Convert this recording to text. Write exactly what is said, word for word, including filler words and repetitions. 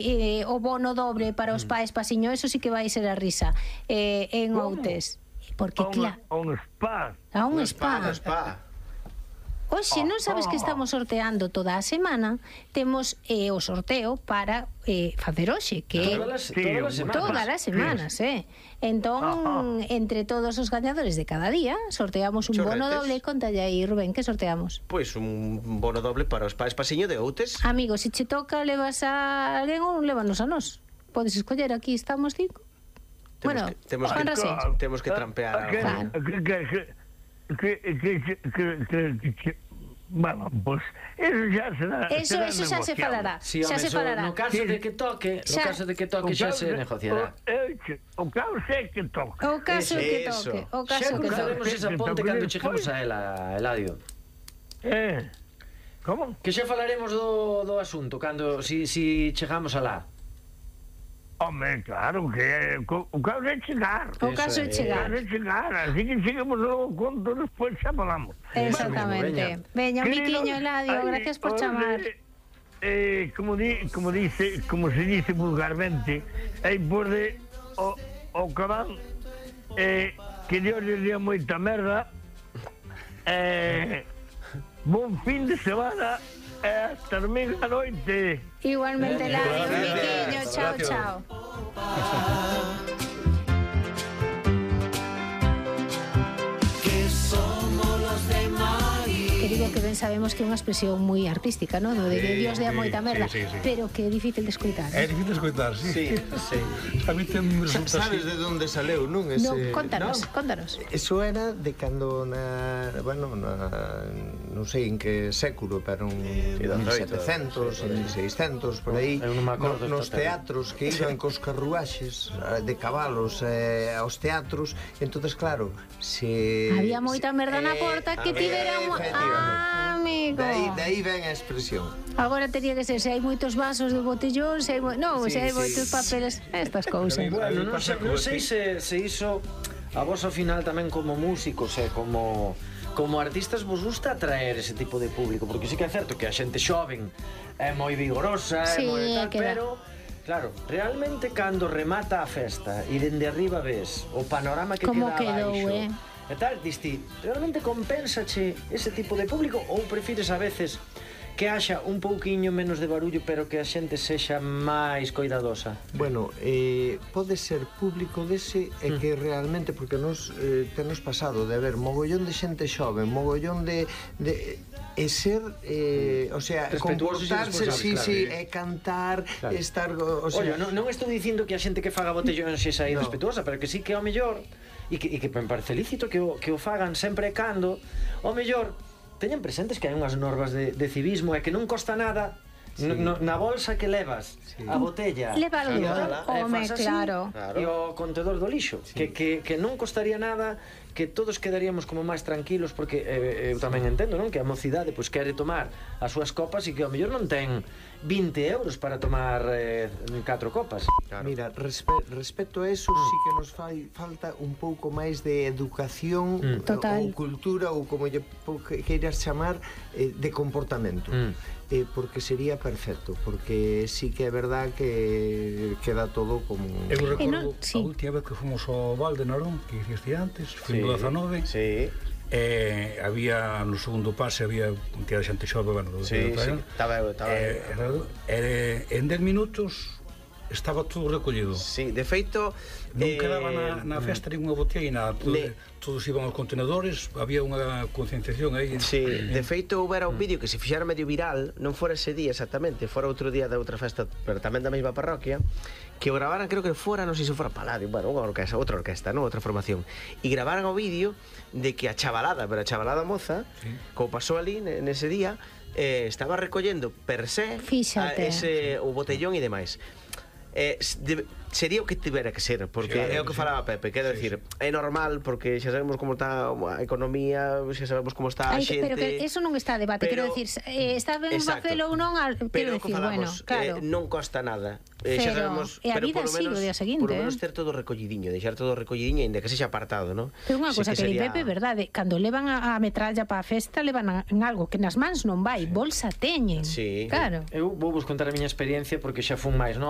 eh, o bono dobre para os pais pasiño, eso sí que vai ser a risa eh, en Outes. Porque, claro, a un spa. A un spa. Un spa. Oxe, non sabes que estamos sorteando toda a semana. Temos eh, o sorteo para eh, facer hoxe, que todas as, todas as semanas. Todas as semanas, eh. Entón, entre todos os gañadores de cada día, sorteamos un Chorretes. bono doble. Contalle aí, Rubén, que sorteamos? Pois un bono doble para os pais pasiño de Outes. Amigo, se che toca, levas a alguén ou lévanos a nós. Podes escoller, aquí estamos cinco. Temos Bueno, que, temos Juan que, Rasés. temos que trampear a... Claro. Que, que, que, que, que, que, que, que, bueno, pues eso xa será. Eso, será eso xa se negociable. falará. Sí, xa home, se so, falará. no caso de que toque, no Xa. caso de que toque xa se negociará. O, o caso é que toca. O caso que Eso. toque, o Xa caso que cruzaremos toque. esa ponte cando cheguemos a ela, Eladio. Eh, como? Que xa falaremos do, do asunto cando si, si chegamos alá. Hombre, claro, que o, o caso é chegar. O caso é O chegar. caso é chegar, así que chegamos ao conto, despois xa falamos. Exactamente. Veña, Miquiño, Eladio, gracias por chamar. Eh, como, di, como dice, como se dice vulgarmente, aí pode o, o cabal eh, que Dios le dio moita merda, eh, bon fin de semana e hasta domingo a noite. Igualmente, Eladio, Miquiño, chao, chao. Que digo que ben sabemos que é unha expresión moi artística, non? De que Sí, Dios dea sí, moita merda, sí, sí, sí. pero que é difícil de escoitar. É difícil de escoitar, sí. Sí, sí. A mí ten me Sa- resulta Sabes así. de onde saleu, non? Ese... No, contanos, No. contanos. Eso era de cando na, bueno, na, non sei en que século, pero en mil setecentos, en mil seiscentos, por aí, Eu non me acordo no, nos esta teatros que iban cos carruaxes eh, de cabalos eh, aos teatros, entonces claro, se Había moita se- merda na porta que había, tiveramos. efectivamente. Ah, amigo. De aí, de aí ven a expresión. Agora tería que ser se hai moitos vasos de botellón, se hai, mo... non, Sí, se hai sí. moitos papeles, estas cousas. Bueno, non pasa sei, co- non sei se, se iso a vos ao final tamén como músicos e como como artistas vos gusta atraer ese tipo de público, porque sí que é certo que a xente xoven é moi vigorosa, Sí, é moi tal, queda. pero claro, realmente cando remata a festa e dende arriba ves o panorama que Como queda quedou, abaixo, eh? e tal, diste, realmente compénsache ese tipo de público ou prefires a veces que haxa un pouquiño menos de barullo pero que a xente sexa máis coidadosa? Bueno, eh, pode ser público dese e que realmente, porque nos eh, tenos pasado de ver mogollón de xente xoven, mogollón de, de e ser, eh, o sea, Respetuosos e comportarse, sí, responsables, sí, claro. e cantar, Claro. estar, o sea, Oye, non, non estou dicindo que a xente que faga botellóns sexa No. irrespetuosa, pero que sí que ao mellor e que, e que me parece lícito que o, que o fagan sempre e cando ao mellor teñan presentes que hai unhas normas de, de civismo e que non costa nada. Sí. No, na bolsa que levas Sí. a botella Leva algo, e tal, e home, fas así, claro. e o contedor do lixo, que, que, que non costaría nada, que todos quedaríamos como máis tranquilos, porque eh, eu tamén entendo, non? Que a mocidade pois quere tomar as súas copas e que ao mellor non ten vinte euros para tomar eh, catro copas. Claro. Mira, respe respecto a eso, mm. sí que nos fai falta un pouco máis de educación Mm. Total. ou cultura ou como lle que- queiras chamar eh, de comportamento. Mm. Eh, porque sería perfecto, porque sí que é verdad que queda todo como... Eu recordo non- sí. a última vez que fomos ao Val de Narón, que dixiste antes, foi no dezanove, Sí, eh, había no segundo pase había un tía de xente xove, bueno, do- sí, do- sí, estaba eu, estaba eh, eu. eh, en dez minutos estaba todo recollido. Sí, de feito... Non eh, quedaba na, na festa ninguna botella e nada, todo, Ne- todos iban aos contenedores, había unha concienciación aí. Sí, de feito houbera un vídeo que se fixera medio viral, non fora ese día exactamente, fora outro día da outra festa, pero tamén da mesma parroquia, que o gravaran, creo que fora, non sei se fora Paladio, bueno, unha orquesta, outra orquesta, non, outra formación, e gravaran o vídeo de que a chavalada, pero a chavalada moza, Sí. como pasou ali nese día, eh, estaba recollendo per se Fíxate. a ese o botellón e demais. eh, de, sería o que tivera que ser, porque Claro, é o que sí. falaba Pepe, quero Sí, decir, é normal porque xa sabemos como está a economía, xa sabemos como está a Ai, xente. pero que eso non está a debate, pero- quero decir, eh, está ben Exacto. facelo ou non, al- Pero quero o que decir, bueno, falamos, claro. eh, non costa nada. Eh, xa Pero- sabemos, e a pero vida polo sigue menos, o día seguinte, Por lo menos eh. ter todo recollidiño, deixar todo recollidiño, ainda que sexa apartado, ¿no? Pero unha Sí cosa que, que sería- Pepe, verdade, cando levan a, a metralla para a festa, levan a, en algo que nas mans non vai, bolsa teñen. Sí. Claro. Eu vou vos contar a miña experiencia porque xa fun máis novo.